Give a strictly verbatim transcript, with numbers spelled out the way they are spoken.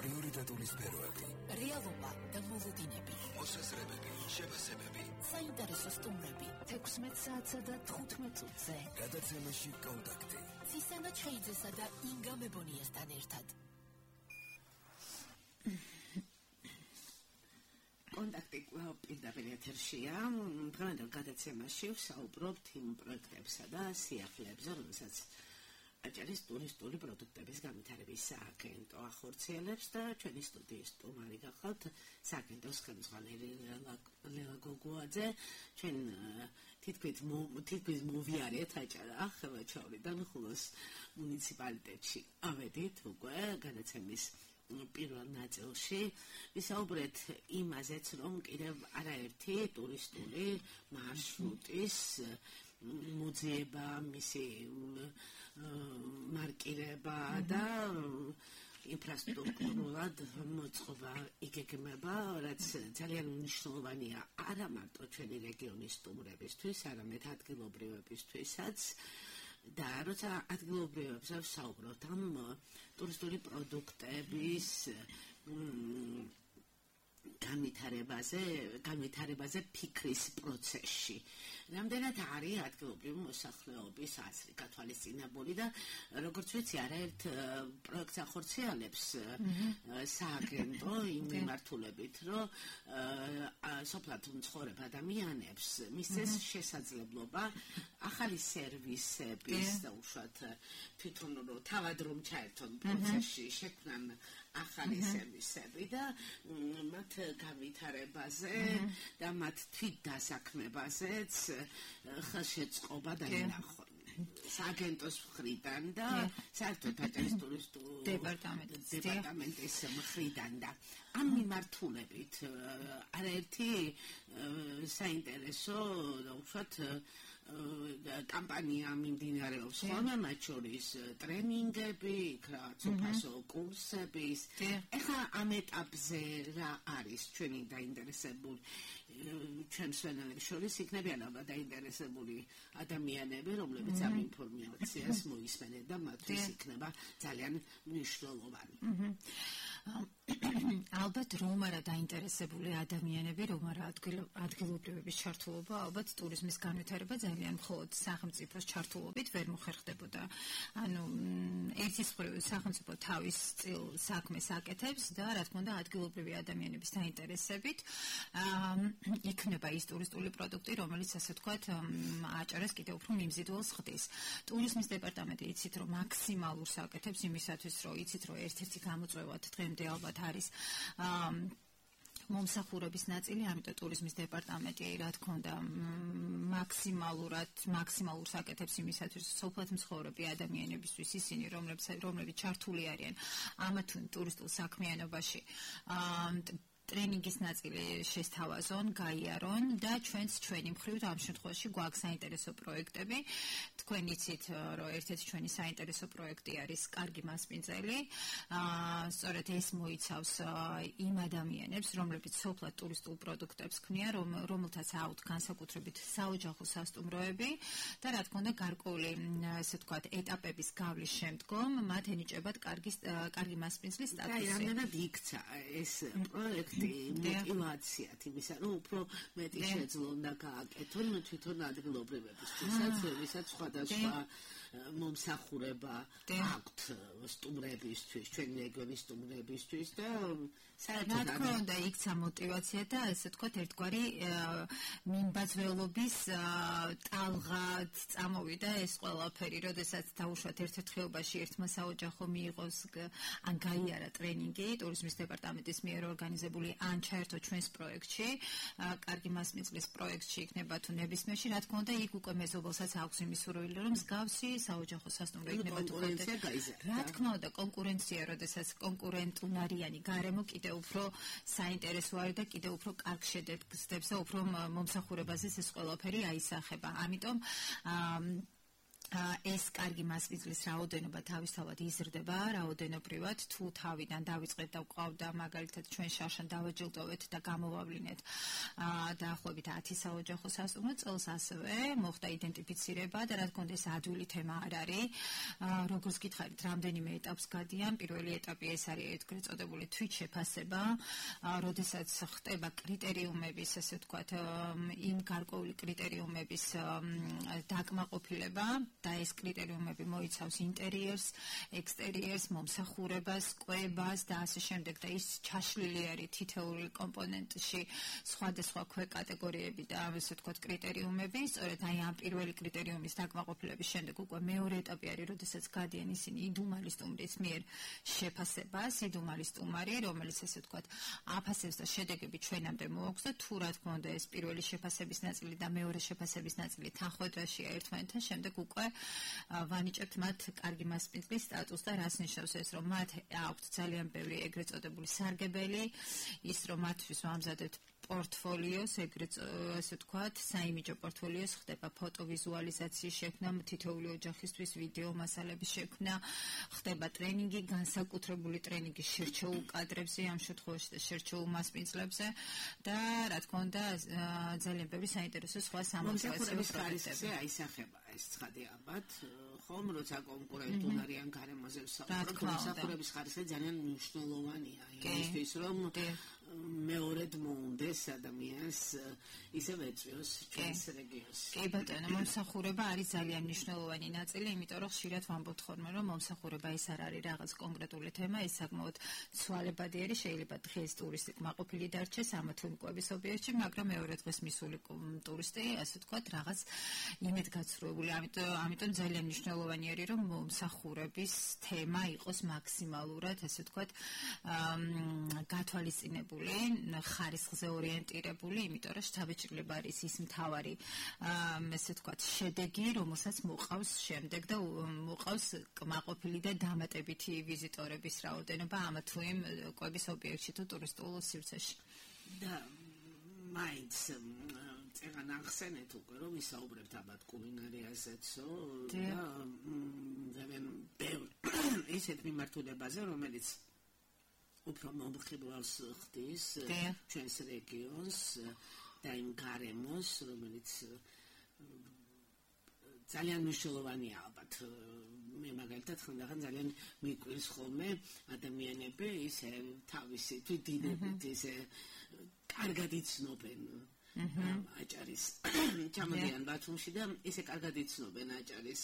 პრიორიტეტული სფეროები, რეალობა და მოლოდინები, მოსაზრებები, შეფასებები, საინტერესო სტუმრები, თექვსმეტ საათსა და თხუთმეტ წუთზე. გადაცემაში კონტაქტი. ცისანა ჩხეიძესა და ინგა მებონიასთან ერთად. კონტაქტი პირდაპირ ეთერშია. დღევანდელ გადაცემაში ვსაუბრობთ იმ პროექტებსა და სიახლეებზე, რომელსაც აჭარის ტურისტული პროდუქტების განვითარების სააგენტო ახორციელებს და ჩვენი სტუდიის სტუმარი გახლავთ სააგენტოს ხელმძღვანელი ლელა გოგუაძე. ჩვენ თითქმის თითქმის მოვიარეთ აჭარა ხელვაჩაურიდან ხულოს მუნიციპალიტეტში ავედით უკვე გადაცემის პირველ ნაწილში ვისაუბრეთ იმაზეც, რომ კიდევ არაერთი ტურისტული მარშრუტის მოძიება, მისი მარკირება და ინფრასტრუქტურულად მოწყობა იგეგმება, რაც ძალიან მნიშვნელოვანია არა მარტო ჩვენი რეგიონის სტუმრებისთვის, არამედ ადგილობრივებისთვისაც. და როცა ადგილობრივებზე ვსაუბრობთ ამ ტურისტული პროდუქტების განვითარებაზე, განვითარებაზე ფიქრის პროცესში. რამდენად არის ადგილობრივი მოსახლეობის აზრი გათვალისწინებული და როგორც ვიცი, არაერთ პროექტს ახორციელებს სააგენტო იმ მიმართულებით, რომ სოფლად მცხოვრებ ადამიანებს მისცეს შესაძლებლობა ახალი სერვისების და უშუალოდ თვითონ რომ თავად რომ ჩაერთონ პროცესში, შექმნან ახალი სერვისები და მათ განვითარებაზე და მათ თვით დასაქმებაზეც ხელშეწყობა დაინახონ. სააგენტოს მხრიდან და საერთოდ აჭარის ტურისტულ დეპარტამენტის მხრიდან და ამ მიმართულებით არაერთი საინტერესო და უშუალოდ კამპანია მიმდინარეობს ხოლმე, მათ შორის ტრენინგები, უპასო კურსების. ეხლა ამ ეტაპზე რა არის ჩვენი დაინტერესებული ჩვენ მსვენელებს შორის იქნებიან ალბათ დაინტერესებული ადამიანები, რომლებიც ამ ინფორმაციას მოისმენენ და მათთვის იქნება ძალიან მნიშვნელოვანი. ალბათ რომ არა დაინტერესებული ადამიანები, რომ არა ადგილობრივების ჩართულობა, ალბათ ტურიზმის განვითარება ძალიან მხოლოდ სახელმწიფოს ჩართულობით ვერ მოხერხდებოდა. ანუ ერთის მხრივ სახელმწიფო თავის წილ საქმეს აკეთებს და რა თქმა უნდა ადგილობრივი ადამიანების დაინტერესებით იქნება ის ტურისტული პროდუქტი, რომელიც ასე ვთქვათ აჭარას კიდევ უფრო მიმზიდველს ხდის. ტურიზმის დეპარტამენტი იცით, რომ მაქსიმალურს აკეთებს იმისათვის, რომ იცით, რომ ერთ-ერთი გამოწვევად დღემდე ალბათ არის მომსახურების ნაწილი, ამიტომ ტურიზმის დეპარტამენტი რა თქმა უნდა მაქსიმალურად მაქსიმალურს აკეთებს იმისათვის, რომ სოფლად მცხოვრები ადამიანებისთვის ისინი, რომლებიც რომლებიც ჩართული არიან ამ ტურისტულ საქმიანობაში, ტრენინგის ნაწილი შესთავაზონ, გაიარონ და ჩვენც ჩვენი მხრივ ამ შემთხვევაში გვაქვს საინტერესო პროექტები. თქვენ იცით, რომ ერთ-ერთი ჩვენი საინტერესო პროექტი არის კარგი მასპინძელი. სწორედ ეს მოიცავს იმ ადამიანებს, რომლებიც სოფლად ტურისტულ პროდუქტებს ქმნიან, რომელთაც აუთ განსაკუთრებით საოჯახო სასტუმროები და რა თქმა უნდა გარკვეული ასე ვთქვათ ეტაპების გავლის შემდგომ მათ ენიჭებათ კარგი კარგი მასპინძლის სტატუსი. აი, რამდენად იქცა ეს პროექტი мотивация იმისა, რომ უფრო მეტი შეძლო უნდა გააკეთონ თვითონ ადგილობრივებისთვისაც, ვისაც სხვადასხვა მომსახურება აქვთ სტუმრებისთვის, ჩვენი რეგიონის სტუმრებისთვის და საერთოდ რა თქმა უნდა იქცა мотивация და ასე ვთქვათ ერთგვარი მიმბაძველობის ტალღად წამოვიდა ეს ყველაფერი, როდესაც დაუშვათ ერთ-ერთ ხეობაში ერთმა საოჯახო მიიღოს ან გაიარა ტრენინგი ტურიზმის დეპარტამენტის მიერ ორგანიზებული ან ჩაერთო ჩვენს პროექტში, კარგი მასპინძლის პროექტში იქნება თუ ნებისმიერში, რა თქმა უნდა, იქ უკვე მეზობელსაც აქვს იმის სურვილი, რომ მსგავსი საოჯახო სასტუმრო იქნება თუ რა თქმა უნდა, კონკურენცია, როდესაც კონკურენტუნარიანი გარემო კიდევ უფრო საინტერესო არის და კიდევ უფრო კარგ შედეგს და უფრო მომსახურებაზე ეს ყველაფერი აისახება. ამიტომ ეს კარგი მასპინძლის რაოდენობა თავისთავად იზრდება, რაოდენობრივად, თუ თავიდან დავიწყეთ და ვყავდა მაგალითად ჩვენ შარშან დავაჯილდოვეთ და გამოვავლინეთ დაახლოებით ათი საოჯახო სასტუმრო წელს, ასევე მოხდა იდენტიფიცირება და რა თქმა უნდა ეს ადვილი თემა არ არის. როგორც გითხარით, რამდენიმე ეტაპს გადიან. პირველი ეტაპი ეს არის ეგრეთ წოდებული თვით შეფასება, როდესაც ხდება კრიტერიუმების, ასე ვთქვათ, იმ გარკვეული კრიტერიუმების დაკმაყოფილება. და ეს კრიტერიუმები მოიცავს ინტერიერს, ექსტერიერს, მომსახურებას, კვებას და ასე შემდეგ და ის ჩაშლილი არის თითოეული კომპონენტში სხვადასხვა ქვეკატეგორიები და ასე ვთქვათ კრიტერიუმები. სწორედ აი ამ პირველი კრიტერიუმის დაკმაყოფილების შემდეგ უკვე მეორე ეტაპი არის, როდესაც გადიან ისინი იდუმალი სტუმრის მიერ შეფასებას, იდუმალი სტუმარი, რომელიც ასე ვთქვათ აფასებს და შედეგები ჩვენამდე მოაქვს და თუ რა თქმა უნდა ეს პირველი შეფასების ნაწილი და მეორე შეფასების ნაწილი თანხმოვანშია ერთმანეთთან, შემდეგ უკვე ვანიჭებთ მათ კარგი მასპინძლის სტატუსს და რას ნიშნავს ეს, რომ მათ აქვთ ძალიან ბევრი ეგრეთ წოდებული სარგებელი, ის რომ მათთვის ვამზადებთ პორტფოლიოს, ეგრეთ ასე ვთქვათ, საიმიჯო პორტფოლიოს, ხდება ფოტოვიზუალიზაციის შექმნა, თითოეული ოჯახისთვის ვიდეო მასალების შექმნა, ხდება ტრენინგი, განსაკუთრებული ტრენინგი შერჩეულ კადრებზე, ამ შემთხვევაში და შერჩეულ მასპინძლებზე და რა თქმა უნდა ძალიან ბევრი საინტერესო სხვა სამომსახურების ხარისხზე აისახება ეს ცხადი ალბათ, ხომ როცა კონკურენტულ არიან გარემოზე ვსაუბრობთ, მომსახურების ხარისხი ძალიან მნიშვნელოვანია იმისთვის, რომ მეორედ მოუნდეს ადამიანს ისევ ეწვიოს ჩვენს რეგიონს. კი ბატონო, მომსახურება არის ძალიან მნიშვნელოვანი ნაწილი, იმიტომ რომ ხშირად ვამბობთ ხოლმე, რომ მომსახურება ეს არ არის რაღაც კონკრეტული თემა, ეს საკმაოდ ცვალებადი არის, შეიძლება დღეს ტურისტი კმაყოფილი დარჩეს ამა თუ იმ კვების ობიექტში, მაგრამ მეორე დღეს მისული ტურისტი, ასე ვთქვათ, რაღაც იმედგაცრუებული. ამიტომ ამიტომ ძალიან მნიშვნელოვანი არის, რომ მომსახურების თემა იყოს მაქსიმალურად, ასე ვთქვათ, გათვალისწინებული, ხარისხზე ორიენტირებული, იმიტომ რომ შთაბეჭდილება არის ის მთავარი, ასე ვთქვათ, შედეგი, რომელსაც მოყავს შემდეგ და მოყავს კმაყოფილი და დამატებითი ვიზიტორების რაოდენობა ამა თუ იმ კვების ობიექტში თუ ტურისტულ სივრცეში. და მაინც წეგან ახსენეთ უკვე, რომ ვისაუბრებთ ალბათ კულინარიაზეცო და ძალიან ბევრი ისეთ მიმართულებაზე, რომელიც უფრო მომხიბლავს ხდის ჩვენს რეგიონს და იმ გარემოს, რომელიც ძალიან მნიშვნელოვანია ალბათ. მე მაგალითად ხანდახან ძალიან მიკვირს ხოლმე ადამიანები ისე თავისი თვითდინებით ისე კარგად იცნობენ აჭარის ჩამოდიან ბათუმში და ისე კარგად იცნობენ აჭარის